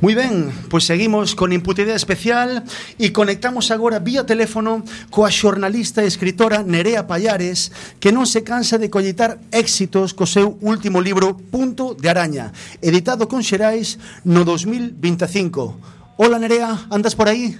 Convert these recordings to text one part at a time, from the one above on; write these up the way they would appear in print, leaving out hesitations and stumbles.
Moi ben, pois seguimos con Imputidade Especial e conectamos agora vía teléfono coa xornalista e escritora Nerea Pallares, que non se cansa de collitar éxitos co seu último libro Punto de Araña, editado con Xerais no 2025. Hola Nerea, andas por aí?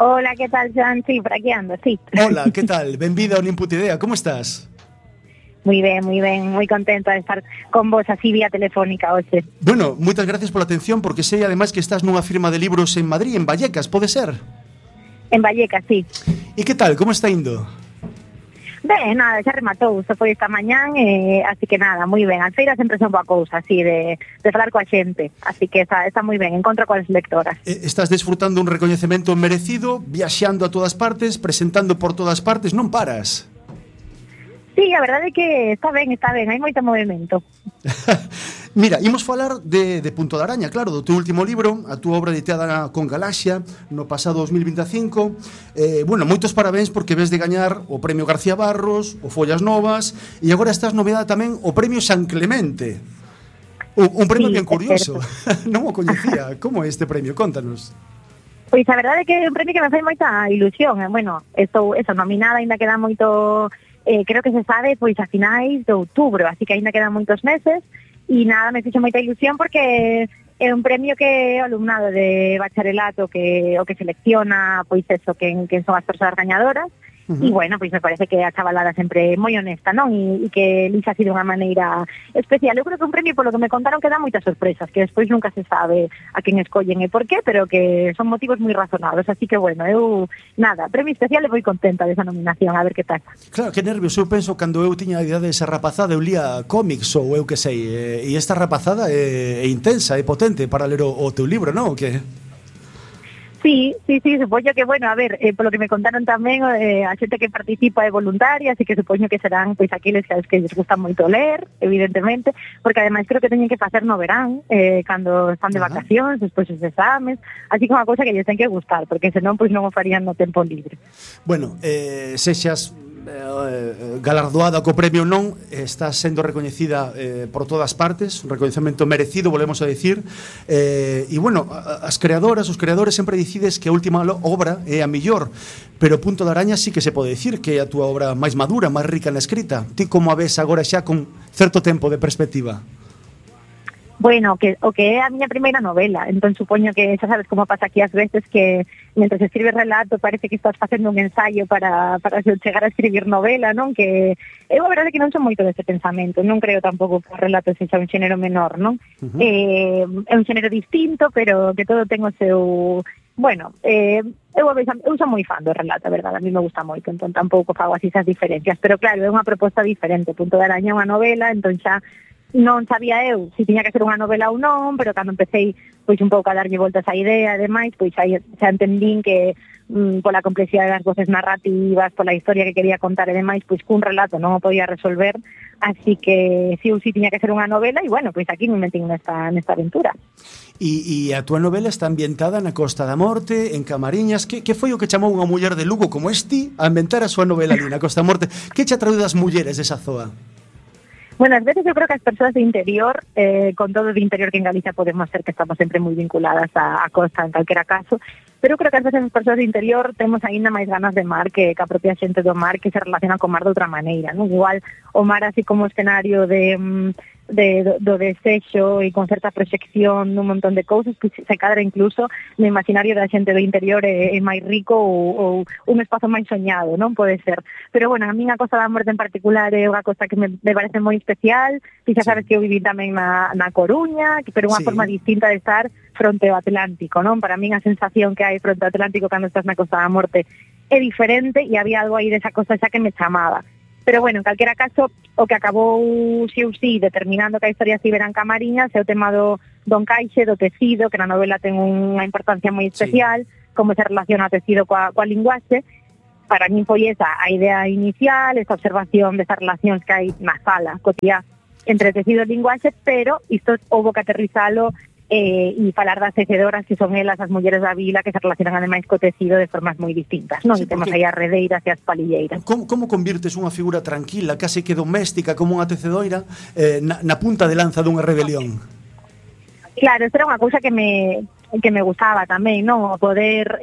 Hola, ¿qué tal, Joan? Sí, por aquí ando, sí. Hola, que tal? Benvida ao Imputidea, como estás? Muy ben, moi contenta de estar con vos así vía telefónica hoxe. Bueno, moitas gracias pola atención, porque sei ademais que estás nunha firma de libros en Madrid, en Vallecas, pode ser? En Vallecas, sí. E que tal, como está indo? Ben, nada, xa rematou, só foi esta mañán, así que nada, moi ben. As feiras sempre son boa cousa, así, de falar coa xente, así que está moi ben, encontro coas lectoras. Estás desfrutando un recoñecemento merecido, viaxando a todas partes, presentando por todas partes, non paras? Sí, a verdade é que está ben, hai moito movimento. Mira, imos falar de Punto de Araña, claro, do teu último libro, a túa obra editada con Galaxia no pasado 2025. Bueno, moitos parabéns porque ves de gañar o Premio García Barros, o Follas Novas, e agora estás novedada tamén o Premio San Clemente. Un premio sí, bien curioso. Non o coñecía. Como é este premio? Contanos. Pois a verdade é que é un premio que me fai moita ilusión. Bueno, estou nominada, ainda queda moito... creo que se sabe pois a finais de outubro, así que aínda quedan moitos meses e nada, me fixo moita ilusión porque é un premio que o alumnado de bacharelato o que selecciona pois eso, quen son as persoas gañadoras. E bueno, pois me parece que a chavalada sempre moi honesta, non? E que lixa así de unha maneira especial. Eu creo que un premio, polo que me contaron, que dá moitas sorpresas, que despois nunca se sabe a quen escollen e por qué, pero que son motivos moi razonados. Así que bueno, eu, nada, premio especial e moi contenta desa nominación, a ver que pasa. Claro, que nervios, eu penso cando eu tiña a idade desa rapazada, eu lía cómics ou eu que sei, e esta rapazada é intensa, é potente para ler o teu libro, non? O que... Sí, supoño que, bueno, a ver, polo que me contaron tamén, a xente que participa é voluntaria, así que supoño que serán, pois, aqueles que les gusta moito ler, evidentemente, porque ademais creo que teñen que facer no verán, cando están de vacacións, despois os exames, así que unha cousa que lles ten que gustar, porque senón, pois, non o farían no tempo libre. Bueno, sexas galardoada co premio non, está sendo recoñecida por todas partes, un recoñecemento merecido, volvemos a decir, e bueno, as creadoras, os creadores sempre dicides que a última obra é a mellor, pero Punto de Araña sí que se pode dicir que é a túa obra máis madura, máis rica na escrita. Ti como a ves agora xa con certo tempo de perspectiva? Bueno, o que é a miña primeira novela, entón supoño que xa sabes como pasa aquí ás veces que mentre escribes relato parece que estás facendo un ensaio para chegar a escribir novela, non? Que eu a verdade que non son moito dese pensamento, non creo tampouco que o relato sexa un xénero menor, non? É un xénero distinto, pero que todo ten o seu... Bueno, eu son moi fan do relato, a verdade, a mí me gusta moito, entón tampouco fago así esas diferencias, pero claro, é unha proposta diferente, Punto de Araña é unha novela, entón xa non sabía eu se tiña que ser unha novela ou non, pero cando empecé pois un pouco a darlle voltas á idea e demais, pois xa entendín que pola complexidade das voces narrativas, pola historia que quería contar e demais, pois cun relato non o podía resolver, así que si ou si tiña que ser unha novela e bueno, pois aquí me metín nesta aventura. E a túa novela está ambientada na Costa da Morte, en Camariñas. Que foi o que chamou unha muller de Lugo como este a inventar a súa novela ali na Costa da Morte? Que che atraiu das mulleres desa zoa? Bueno, ás veces eu creo que as persoas de interior, con todo de interior que en Galicia podemos ser que estamos sempre moi vinculadas a costa en calquera caso, pero creo que ás veces as persoas de interior temos aínda máis ganas de mar que a propia xente do mar que se relaciona con mar de outra maneira, non? Igual o mar así como escenario do desexo e con certa proxección nun montón de cousas que se cadra incluso no imaginario da xente do interior é máis rico ou un espazo máis soñado, non pode ser. Pero bueno, a min a Costa da Morte en particular é unha cosa que me parece moi especial, e xa sabes que eu viví tamén na Coruña, pero unha forma distinta de estar fronte ao Atlántico, non? Para min a sensación que hai fronte ao Atlántico cando estás na Costa da Morte é diferente e había algo aí desa cosa xa que me chamaba. Pero bueno, en calquera caso, o que acabou sí determinando que a historia se ibera en Camariñas é o tema do encaixe, do tecido, que na novela ten unha importancia moi especial, como se relaciona o tecido coa linguaxe. Para min foi esa a idea inicial, esa observación desas relacións que hai na sala cotiá entre tecido e linguaxe, pero isto houbo que aterrizalo e falar das tecedoras que son elas as mulleres da vila que se relacionan ademais co tecido de formas moi distintas, non? Sí, temos aí as redeiras e as palilleiras. Como convirtes unha figura tranquila, case que doméstica como unha tecedoira na punta de lanza dunha rebelión? Claro, isto era unha cousa que me gustaba tamén, non? O poder,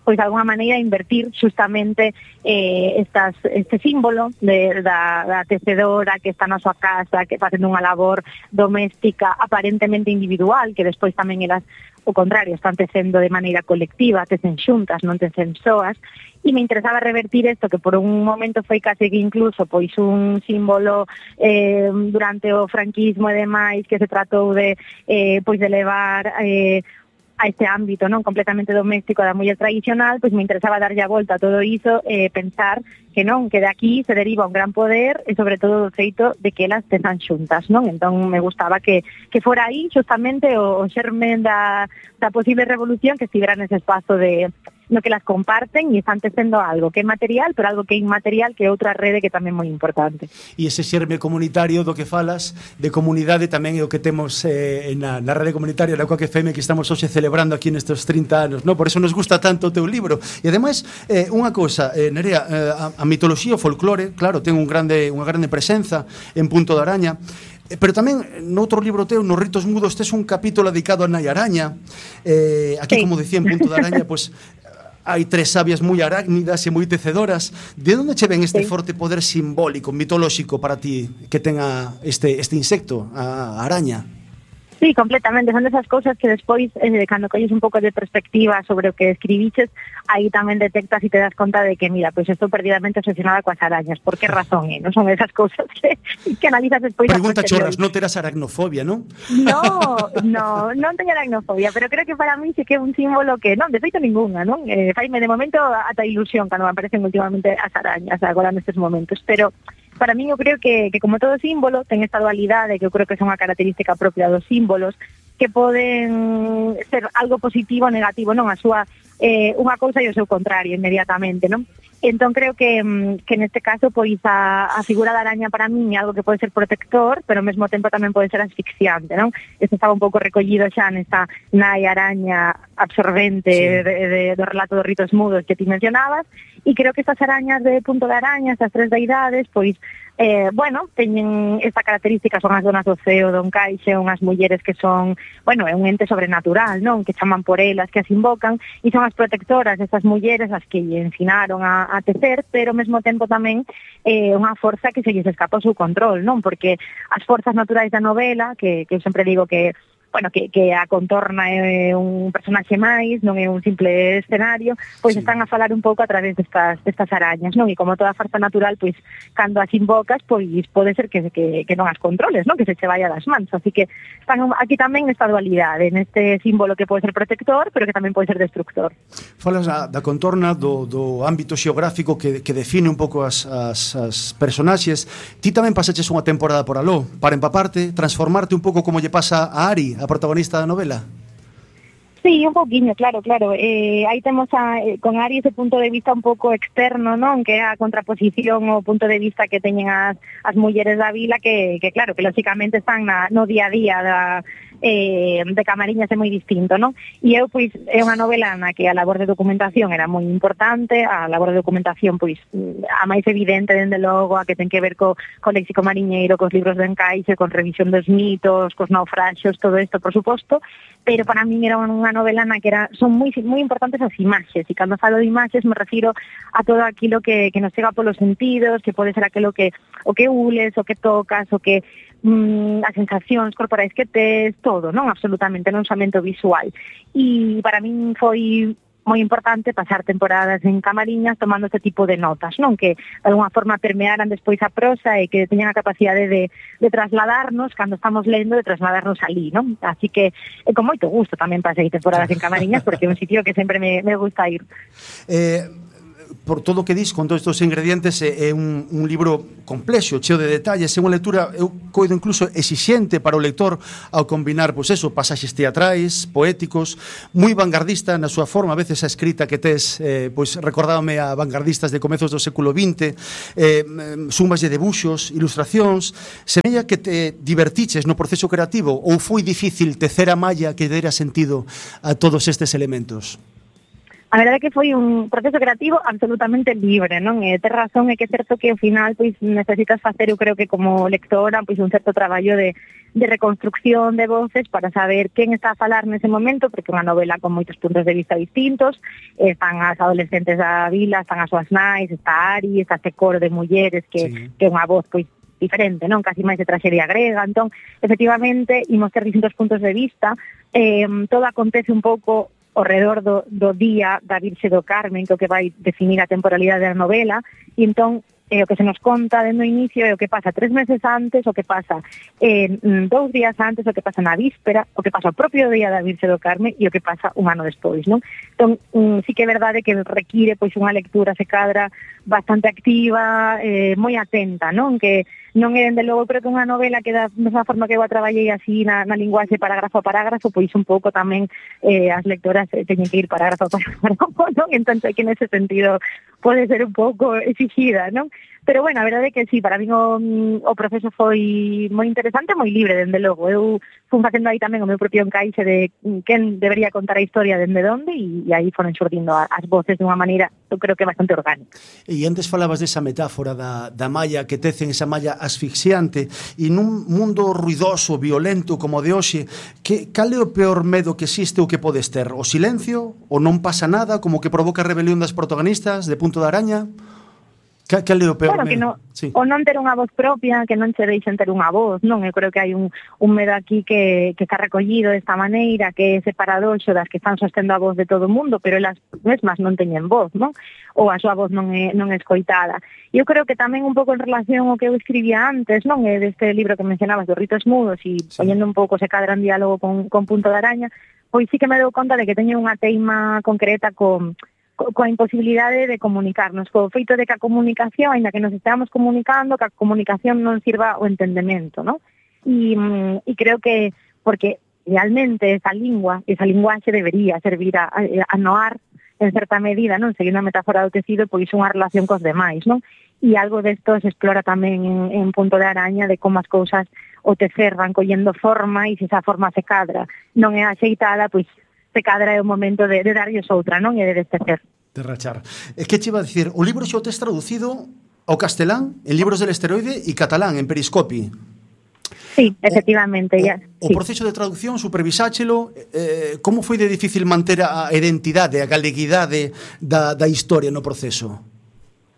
pois de alguma maneira invertir justamente este símbolo da tecedora que está na súa casa, que facendo unha labor doméstica aparentemente individual, que despois tamén elas o contrario, están tecendo de maneira colectiva, tecen xuntas, non tecen soas, e me interesaba revertir isto, que por un momento foi case que incluso pois un símbolo durante o franquismo e demais, que se tratou de pois de levar a este ámbito non completamente doméstico da muller tradicional, pois me interesaba darlle a volta a todo iso e pensar que non, que de aquí se deriva un gran poder e sobre todo do feito de que elas tezan xuntas, non? Entón me gustaba que fora aí justamente o xermen da posible revolución, que estivera nese espazo de no que las comparten e están tecendo algo que é material, pero algo que é inmaterial, que é outra rede que tamén é moi importante. E ese xerme comunitario do que falas, de comunidade, tamén é o que temos na rede comunitaria da Coac FM, que estamos hoxe celebrando aquí nestes 30 anos, no? Por eso nos gusta tanto o teu libro. E ademais, unha cousa, Nerea, a mitoloxía, o folclore, claro, ten unha grande presenza en Punto de Araña, pero tamén noutro libro teu, nos Ritos Mudos, tes un capítulo dedicado a Nai Araña. Aquí, sí, como decía, en Punto de Araña, pues hai 3 sabias moi arácnidas e moi tecedoras. De onde che ven este forte poder simbólico, mitolóxico para ti que tenga este insecto, a araña? Sí, completamente, son desas cousas que despois, cando colles un pouco de perspectiva sobre o que escribiches, aí tamén detectas e te das conta de que, mira, pois estou perdidamente obsesionada coas arañas. Por que razón, non son esas cousas que analizas despois. Pregunta chorras, non terás aracnofobia, non? Non teño aracnofobia, pero creo que para mí sí que é un símbolo que, non, de feito ninguna, non? Faime de momento ata ilusión cando me aparecen últimamente as arañas agora nestes momentos, pero para mí eu creo que como todo símbolo ten esta dualidade, que eu creo que é unha característica propia dos símbolos, que poden ser algo positivo ou negativo, non? A súa unha cousa e o seu contrario inmediatamente, non? Entón creo que neste caso pois a figura da araña para min é algo que pode ser protector, pero ao mesmo tempo tamén pode ser asfixiante, non? Isto estaba un pouco recollido xa nesta nai araña absorbente, sí, do relato dos Ritos Mudos que ti mencionabas, e creo que estas arañas de Punto de Araña, estas 3 deidades, pois bueno, teñen esta característica, son as donas do ceo, do encaixe, unhas mulleres que son, bueno, é un ente sobrenatural, non? Que chaman por elas, que as invocan, e son as protectoras destas mulleres as que lle ensinaron a tecer, pero ao mesmo tempo tamén unha forza que se lles escapa o seu control, non? Porque as forzas naturais da novela, que eu sempre digo que bueno, que a contorna é un personaxe máis, non é un simple escenario, pois sí, están a falar un pouco a través destas arañas, non? E como toda farsa natural, pois, cando as invocas, pois pode ser que non as controles, non? Que se che vaya das mans. Así que están aquí tamén nesta dualidade, neste símbolo que pode ser protector, pero que tamén pode ser destructor. Falas da contorna, do ámbito xeográfico que define un pouco as personaxes. Ti tamén pasaches unha temporada por aló, para empaparte, transformarte un pouco como lle pasa a Ari, a protagonista da novela. Sí, un poquinho, claro. Aí temos con Ari ese punto de vista un pouco externo, non? Que é a contraposición o punto de vista que teñen as mulleres da vila, que claro, que lógicamente están no día a día de Camariñas, é moi distinto, non? E eu, pois, é unha novela na que a labor de documentación era moi importante, a labor de documentación, pois, a máis evidente, dende logo, a que ten que ver co léxico mariñeiro, cos libros de encaixe, con revisión dos mitos, cos naufraxios, todo isto, por suposto, pero para min era unha novela na que son moi importantes as imaxes, e cando falo de imaxes me refiro a todo aquilo que nos chega polos sentidos, que pode ser aquilo o que ules, o que tocas, o que as sensacións corporais que tes, todo, non? Absolutamente, non somente visual. E para min foi moi importante pasar temporadas en Camariñas tomando este tipo de notas, non? Que de alguna forma permearan despois a prosa e que teñan a capacidade de trasladarnos, cando estamos lendo, de trasladarnos alí, non? Así que con moito gusto tamén pasei temporadas en Camariñas, porque é un sitio que sempre me gusta ir. Por todo o que dis, con todos estes ingredientes, é un libro complexo, cheo de detalles, é unha lectura, eu coido incluso exixente para o lector ao combinar, pois eso, pasaxes teatrais, poéticos, moi vanguardista na súa forma, a veces a escrita que tes, pois recordábame a vanguardistas de comezos do século XX, sumas de debuxos, ilustracións, semella que te divertiches no proceso creativo ou foi difícil tecer a malla que dera sentido a todos estes elementos? A verdade é que foi un proceso creativo absolutamente libre, non? Ter razón é que é certo que ao final pois necesitas facer, eu creo que como lectora, pois un certo traballo de reconstrucción de voces para saber quen está a falar nese momento, porque é unha novela con moitos puntos de vista distintos, están as adolescentes da vila, están as súas nais, está Ari, está este coro de mulleres que é unha voz pois diferente, non? Casi máis de traxedia grega. Entón, efectivamente, imos ter distintos puntos de vista, todo acontece un pouco ao redor do día da Virxe do Carmen, que é o que vai definir a temporalidade da novela, e entón o que se nos conta dentro do inicio é o que pasa 3 meses antes, o que pasa 2 días antes, o que pasa na víspera, o que pasa o propio día da Virxe do Carmen e o que pasa un ano despois, non? Entón, sí que é verdade que require pois unha lectura se cadra bastante activa, moi atenta, non? Que non é, dende logo, creo que unha novela que da mesma forma que eu a traballei así na linguaxe parágrafo a parágrafo, pois un pouco tamén as lectoras teñen que ir parágrafo a parágrafo, non? Entón, que nese sentido pode ser un pouco exigida, non? Pero, bueno, a verdade é que sí, para mí o proceso foi moi interesante, moi libre, dende logo. Eu fui facendo aí tamén o meu propio encaixe de quen debería contar a historia dende onde, e aí foron xurdindo as voces dunha maneira, eu creo que bastante orgánica. E antes falabas desa metáfora da malla que tecen, esa malla asfixiante, e nun mundo ruidoso, violento como o de hoxe, cal é o peor medo que existe ou que podes ter? O silencio? O non pasa nada, como que provoca a rebelión das protagonistas de Punto de Araña? Cal é o peor medo? Claro, sí. O non ter unha voz propia, que non che deixen ter unha voz, non? Eu creo que hai un medo aquí que está recollido desta maneira, que é ese paradoxo das que están sostendo a voz de todo o mundo, pero elas mesmas non teñen voz, non? Ou a súa voz non é escoitada. E eu creo que tamén un pouco en relación ao que eu escribía antes, non? Deste libro que mencionabas, dos ritos mudos, e poñendo un pouco se cadra en diálogo con Punto de Araña, pois sí que me dou conta de que teño unha teima concreta coa imposibilidade de comunicarnos, co feito de que a comunicación, ainda que nos esteamos comunicando, que a comunicación non sirva o entendemento, non? E creo que, porque realmente esa linguaxe debería servir a noar en certa medida, non? Seguindo a metáfora do tecido, pois unha relación cos demais, non? E algo desto se explora tamén en Punto de Araña, de como as cousas o tecer van collendo forma, e se esa forma se cadra non é axeitada, pois se cadra é o momento de darlles outra, non? E de destecer. De rachar. Que che iba a dicir? O libro xa o tes traducido ao castelán, en Libros del Esteroide, e catalán, en Periscopi. Sí, efectivamente. O proceso de traducción, supervisáchelo, como foi de difícil manter a identidade, a galeguidade da historia no proceso?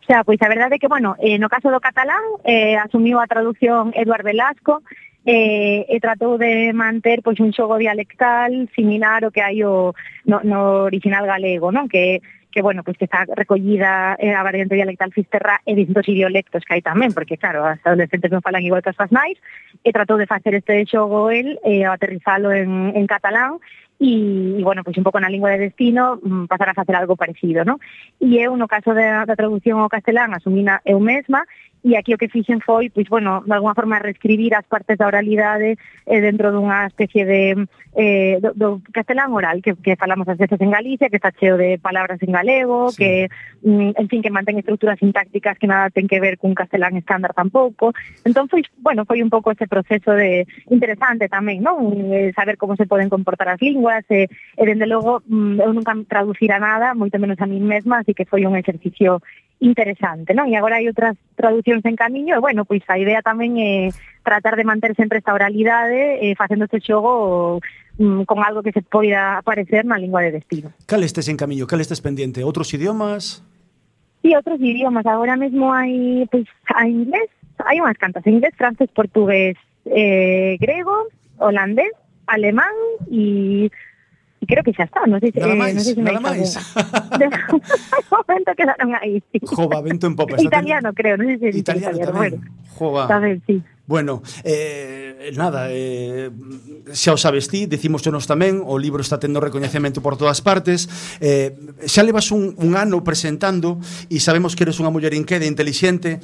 Xa, pois a verdade é que, bueno, no caso do catalán, asumiu a traducción Eduard Velasco, e tratou de manter pois un xogo dialectal similar ao que hai no original galego, non? Que bueno, pois que está recollida a variante dialectal fisterrá e distintos idiolectos que hai tamén, porque claro, as adolescentes non falan igual que as súas nais, e tratou de facer este xogo el, aterrizalo en catalán, e bueno, pois un pouco na lingua de destino pasar a facer algo parecido, non? E eu, no caso da traducción ao castelán, asumina eu mesma, e aquí o que fixen foi, pois, bueno, de alguma forma reescribir as partes da oralidade dentro dunha especie de do castelán oral, que falamos ás veces en Galicia, que está cheo de palabras en galego, sí. Que, en fin, que mantén estruturas sintácticas que nada ten que ver cun castelán estándar tampouco. Entón, foi un pouco ese proceso de interesante tamén, non? Saber como se poden comportar as linguas, e dende logo, eu nunca traducira nada, moito menos a mí mesma, así que foi un exercicio interesante, non? E agora hai outras traducións en camiño, e bueno, pois a idea tamén é tratar de manter sempre esta oralidade, facendo este xogo con algo que se poida aparecer na lingua de destino. Cal estes en camiño? Cal estes pendiente? Outros idiomas? Sí, outros idiomas. Agora mesmo hai, pois, a inglés, hai unhas cantas, inglés, francés, portugués, grego, holandés, alemán e creo que xa está, non sei se nada máis. De momento quedaron aí, sí. Jova, vento en popa. Italiano, creo, non sei se italiano tamén. Jova. Tamén, sí. Bueno, nada, xa o sabes ti, dicímosenos tamén, o libro está tendo recoñecemento por todas partes, xa levas un ano presentando e sabemos que eres unha muller inqueda e intelixente,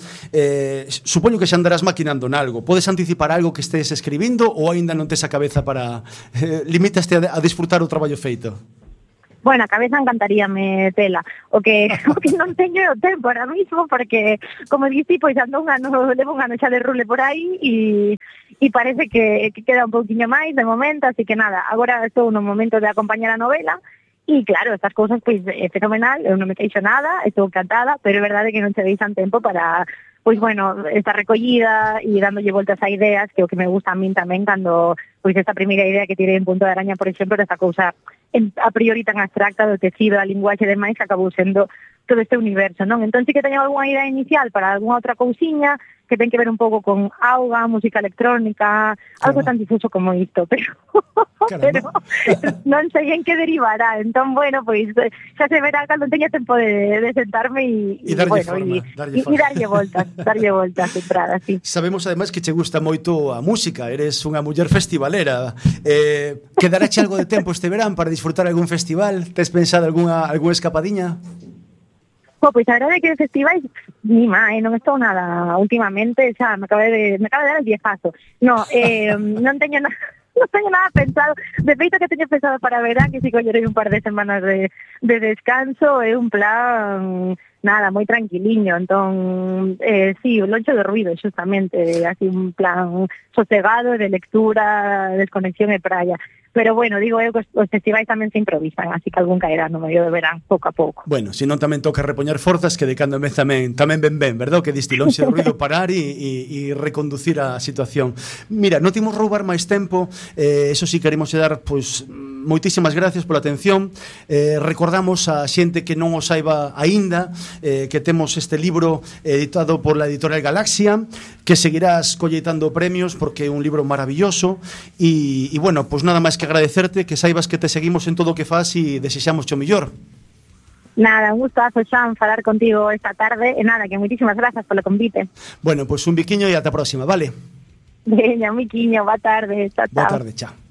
supoño que xa andarás maquinando nalgo. Podes anticipar algo que estés escribindo ou aínda non tes a cabeza para limitaste a disfrutar o traballo feito? Bueno, a cabeza encantaríame tela. O que non teño o tempo ahora mismo, porque, como dixi, pois levo un ano xa de rule por aí e parece que queda un pouquiño máis de momento, así que nada, agora estou no momento de acompañar a novela E claro, estas cousas pois é fenomenal, eu non me queixo nada, estou encantada, pero é verdade que non che deixan tempo para, pois bueno, esta recollida e dándolle voltas a ideas, que é o que me gusta a min tamén cando, pois esta primeira idea que tirei en Punto de Araña, por exemplo, desta cousa a priori tan abstracta do tecido, da linguaxe e demais, que acabou sendo todo este universo, non? Entón, sí que teño algunha idea inicial para algunha outra cousiña que ten que ver un pouco con auga, música electrónica, algo tan difuso como isto, pero non sei en que derivará. Entón, bueno, pois xa se verá cando teña tempo de sentarme e darlle bueno, forma, darlle voltas, entrada, sí. Sabemos ademais que che gusta moito a música, eres unha muller festivalera. Quedaráche algo de tempo este verán para disfrutar algún festival? Tes pensado algunha escapadiña? Pois a verdade é que de festivais ni máis, non estou nada últimamente, xa me acaba de dar el viejazo. Non teño nada. Non teño nada pensado. De feito que teño pensado para verán, que si collerei un par de semanas de descanso, é un plan nada, moi tranquiliño. Entón, sí, o loncho de ruido, xustamente, así un plan sosegado de lectura, desconexión e praia. Pero bueno, digo eu que os festivais tamén se improvisan, así que algún caerá no medio de verán, pouco a pouco. Bueno, se non tamén toca repoñer forzas, que de cando en vez tamén ben, verdad? Que distilónse o ruido parar e reconducir a situación. Mira, non timos roubar máis tempo, eso sí queremos dar, pois, moitísimas gracias pola atención. Recordamos a xente que non o saiba aínda, que temos este libro editado por la editorial Galaxia, que seguirás colleitando premios porque é un libro maravilloso e bueno, pois nada máis que agradecerte, que saibas que te seguimos en todo o que fas e desexamos o mellor. Nada, un gustazo, Xan, falar contigo esta tarde e nada, que moitísimas grazas polo convite. Bueno, pois un biquiño e ata a próxima, vale? Veña, un biquiño, boa tarde, chao. Boa tarde, chao.